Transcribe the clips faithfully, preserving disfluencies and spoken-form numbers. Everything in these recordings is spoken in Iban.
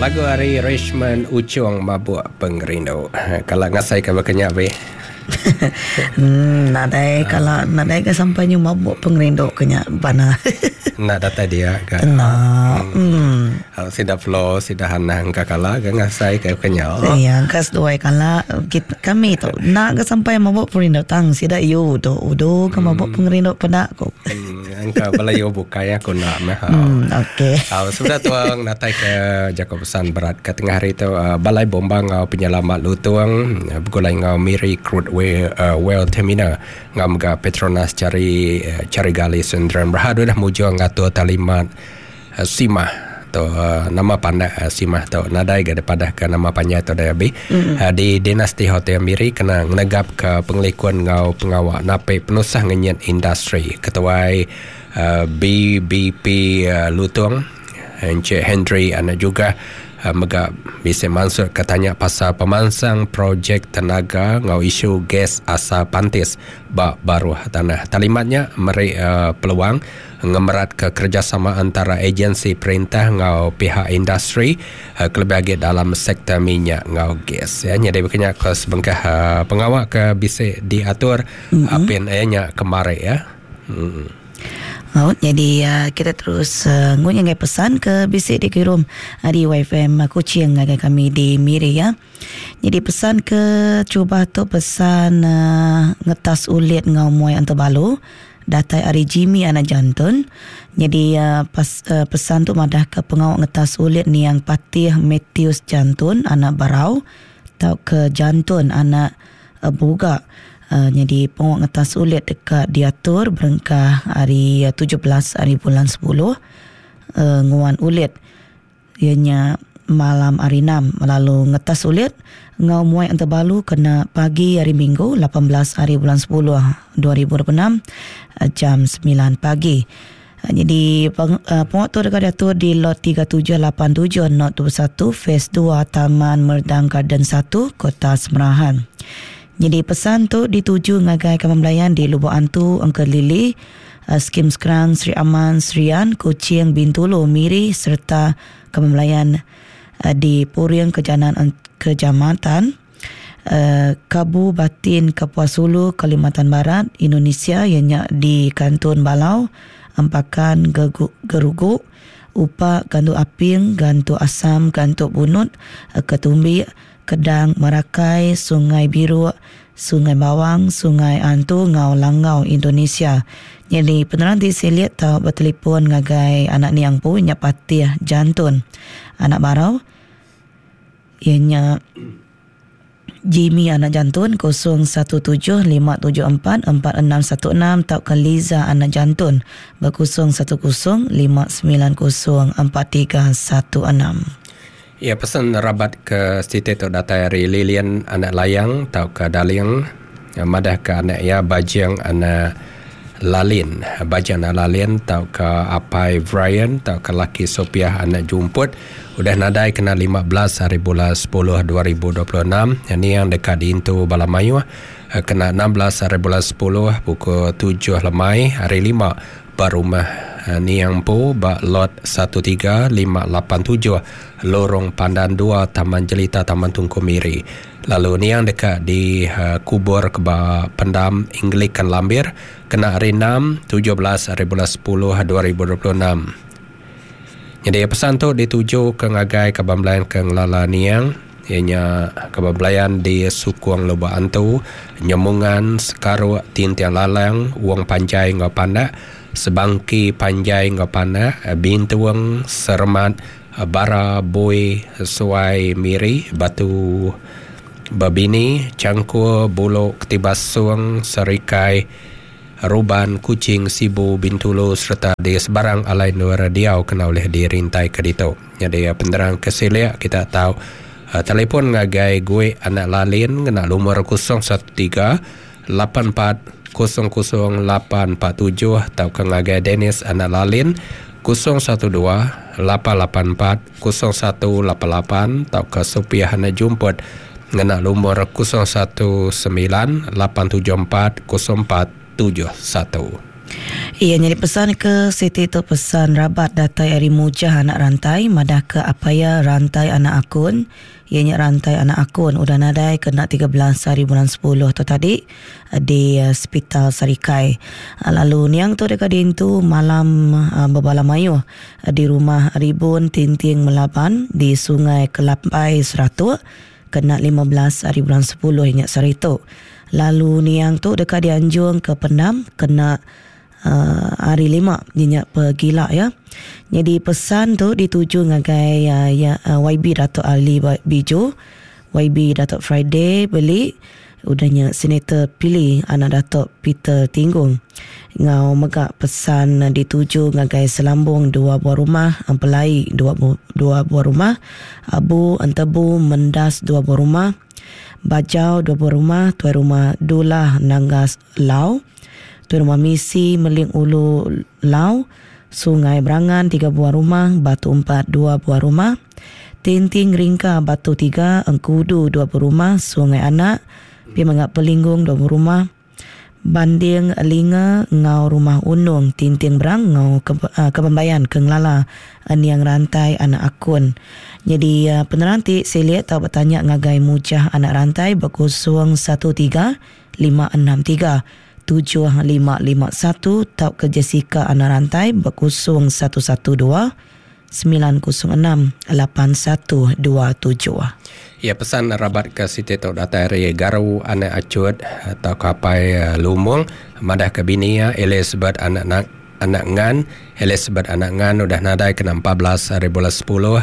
Lagu ari Richmond Uchong Mabuk Pengerindu. Kalau ngasai ke berkenyak be. Hmm, nadai kalau nadai ke sampai nyu mabuk pengerindu kenya bana. Nak datai dia ke. Nah. Hmm. Hmm. Sida flow, sida hanang ka kala ke ngasai ke kenyak. Ya, kas dua kala kita, kami tu nak ke sampai mabuk pengerindu tang sida yu tu udu ke mabuk pengerindu pedak ko. Hmm, angka bala yu bukai aku nak meh. Hmm, okey. Uh, sudah tuang natai ke Jacob pesan berat ke tengah hari tu uh, Balai Bomba ngau penyelamat Lutung uh, begulai ngau Miri Crude Well, uh, Well Terminal ngau mega Petronas cari uh, cari gali Sendran Berhad dah mujur ngatur talimat uh, Simah tu uh, nama pandak uh, Simah tu nadai ga depadah ke nama panjang tu dah abi mm-hmm. uh, di Dinasti Hotel Miri kena ngenegap ke pengelikun ngau pengawak nape penusah ngenyet industri ketuai uh, B B P uh, Lutung Encik Henry anak juga uh, mega bisa masuk ke tanya pasal pemansang projek tenaga ngau isu gas asal pantis bak baruh tanah. Talimatnya meri uh, peluang ngemerat ke kerjasama antara agensi perintah ngau pihak industri uh, kelebih dalam sektor minyak ngau gas. Ya, jadi berkenyak ke sebengkah uh, pengawak ke bisa diatur mm-hmm. apin ayahnya kemari ya. Mm. Oh, jadi uh, kita terus uh, ngunyai pesan ke bisik dikirim uh, di Y F M uh, Kuching ngagai kami di Miri ya. Jadi pesan ke cuba tu pesan uh, ngetas ulit ngau muai antabalu datai ari Jimmy anak jantun. Jadi uh, pas, uh, pesan tu madah ke pengawak ngetas ulit ni yang Patih Matthews Jantun anak Barau tau ke Jantun anak uh, Buga. Uh, jadi pengawak ngetas ulit dekat diatur berengkah hari uh, tujuh belas hari bulan sepuluh uh, nguan ulit ianya malam hari enam lalu ngetas ulit ngau muai antabalu kena pagi hari Minggu lapan belas hari bulan sepuluh dua ribu dua puluh enam uh, jam sembilan pagi. Uh, jadi peng, uh, pengawak tu dekat diatur di lot tiga tujuh lapan tujuh not dua puluh satu phase dua Taman Merdang Garden satu Kota Semerahan. Jadi pesan tu dituju ngagai kawan belayan di Lubuk Antu, Engke Lili, uh, Skim Skrang, Sri Aman, Serian, Kuching, Bintulu, Miri serta kawan belayan uh, di Puring Kejanan Kejamatan, uh, Kabu Batin, Kapuas Hulu, Kalimantan Barat, Indonesia ianya di Kantun Balau, Empakan Gerugu, Upa, Gantu Aping, Gantu Asam, Gantu Bunut, uh, Ketumbi, Kedang, Merakai, Sungai Biru, Sungai Bawang, Sungai Antu, Ngau Langau, Indonesia. Jadi penerang di seliat tau bertelefon ngagai anak niang pu nya Patih Jantun. Anak Barau ianya Jimmy anak Jantun kosong satu tujuh lima tujuh empat empat enam satu enam tau ke Liza anak Jantun berkosong satu kosong lima sembilan kosong empat tiga satu enam. Ya, pesan rabat ke siti tu datai dari Lilian anak Layang tau ke Daling madah ke anak ya Bajeng anak Lalin Bajeng anak Lalin tau ke Apai Brian tau ke laki Sopiah anak Jumput udah nadai kena lima belas hari bulan sepuluh dua ribu dua puluh enam. Ini yang dekat di Intu Balamayu kena enam belas hari bulan sepuluh pukul tujuh lemai hari lima berumah Niang Po bak lot satu tiga lima lapan tujuh Lorong Pandan dua Taman Jelita Taman Tungku Miri. Lalu niang dekat di uh, kubur ke pendam Anglican Lambir kena hari enam tujuh belas hari bulan sepuluh dua ribu dua puluh enam. Jadi pesan tu dituju ke ngagai kaban belayan ke ngelala niang ianya kaban belayan di Sukung Lubuk Antu, Nyemungan, Sekaruk, Tintiang Lalang, Wong Panjai ngau Pandak, Sebangki Panjai ngau Pandak, Bintuang, Sermat, Bara, Bui, Suai, Miri, Batu Babini, Cangkur, Bulok, Ketibasung, Serikai, Ruban, Kuching, Sibu, Bintulu serta di sebarang alai luar diau kena oleh dirintai ke ditu. Jadi penerang kesiliak kita tahu uh, telefon ngagai gue anak Lalin kena nomor kosong satu tiga lapan empat kosong kosong lapan empat tujuh atau ke ngagai Dennis anak Lalin kosong satu dua lapan lapan empat kosong satu lapan lapan atau ke Sopiah anak Jumput ngena nomor kosong satu sembilan lapan tujuh empat kosong empat tujuh satu. Iya jadi pesan ke Siti tu pesan rabat datai ari Mujah anak rantai madah ke apaya rantai anak akun. Iya nya rantai anak akun udah nadai kena tiga belas hari bulan sepuluh tu tadi di Hospital Sarikai. Lalu niang tu dekat diintu malam bebala mayuh di rumah Ribun Tinting Melaban di Sungai Kelapai Seratuk kena lima belas hari bulan sepuluh nya sehari tu. Lalu niang tu dekat dianjung ke Pendam kena Uh, hari lima nyenyak pegila ya. Jadi pesan tu dituju ngagai uh, ya, uh, Y B Datuk Ali Biju, Y B Datuk Friday Beli, udahnya Senator Pili anak Datuk Peter Tinggung. Ngau mega pesan dituju ngagai Selambung dua buah rumah, Empelai dua, dua buah rumah, Abu Entebu Mendas dua buah rumah, Bajau dua buah rumah, Tuai Rumah Dulah Nanggas Lau, Tuai Rumah Misi Meling Ulu Lau, Sungai Berangan tiga buah rumah, Batu Empat dua buah rumah, Tinting Ringka Batu tiga, Engkudu dua buah rumah, Sungai Anak, Pimangak Pelinggung dua buah rumah, Banding Linga ngau rumah Unung Tinting Berang ngau ke, uh, Kebambayan ke Ngelala Niang Rantai anak akun. Jadi uh, penerang ti seliet tau bertanya ngagai Mujah anak rantai berkosong satu tiga lima enam tiga tujuh lima lima satu tau ke Jessica anak rantai berkosong satu satu dua sembilan kosong enam lapan satu dua tujuh. Ya pesan rabat ke Siti tu datai ari Garu anak Acut atau kapai Lumung madah ke bini ya Elizabeth anak nak anak ngan Elizabeth anak ngan udah nadai kena empat belas hari bulan sepuluh.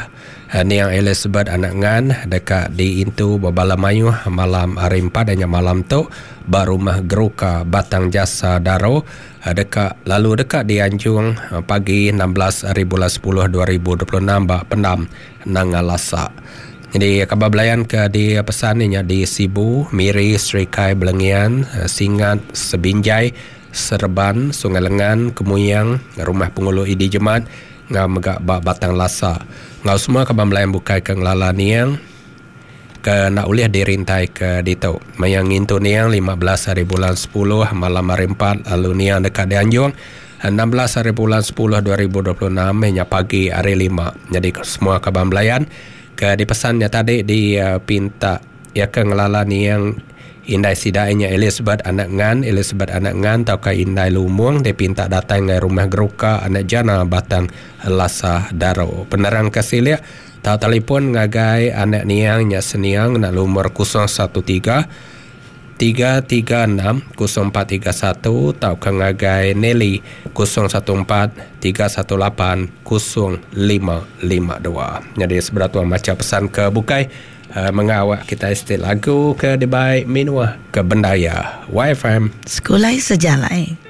Niang Elizabeth anak ngan dekat di Intu Bebala Mayuh malam hari empat dan malam tu ba rumah Geruka Batang Jasa Daro dekat lalu dekat di Anjung pagi enam belas hari bulan sepuluh dua ribu dua puluh enam ba Pendam Nangalasa. Jadi khabar belayan ke di pesan ni di Sibu, Miri, Serikai, Belengian, Singat, Sebinjai, Serban, Sungai Lengan, Kemuyang, Rumah Pengulu Idi Jemat, ngau megak bak Batang Lasa. Ngau semua khabar belayan bukai ke Ngelala Niang ke nak ulih dirintai ke ditu. Maya ngintu Niang lima belas hari bulan sepuluh malam hari empat lalu Niang dekat di Anjung enam belas hari bulan sepuluh dua ribu dua puluh enam hingga pagi hari lima. Jadi semua khabar belayan ke dipesannya tadi di uh, pinta ya ke Ngelala Niang Indai sidainya Elizabeth anak ngan Elizabeth anak ngan tau ke Indai Lumung dia pinta datang ke rumah Geruka anak Jana Batang Lasa Daro. Penerang ke siliak tau telefon ngagai anak niang nya seniang nak lumur kosong satu tiga tiga tiga enam kosong empat tiga satu tau ke ngagai Nelly kosong satu empat tiga satu lapan kosong lima lima dua. Jadi sebelah tuan baca pesan ke bukai uh, mengawak kita istilah lagu ke dibaik minuah ke bendaya Y F M Sekolah Sejalai.